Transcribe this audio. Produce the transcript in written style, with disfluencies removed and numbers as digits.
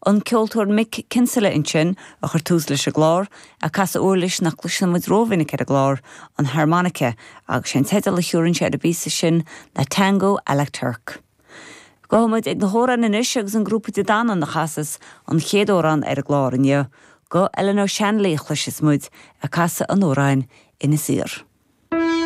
An ceoltóir Mick Kinsella ansin a chuir tús leis an gclár, ag casadh uirlis nach gcloiseann muid rómhinic ar an gclár, an harmonica, agus sé an teideal a thiúrann sé ar an bpíosa sin ná Tango à la Turk. Gabhfaidh muid ag na hamhráin anois agus an grúpa De Danann a chasas an chéad amhrán ar an gclár inniu. Guth Eleanor Shanley a chloisfeas muid ag casadh an amhráin Inis Oírr.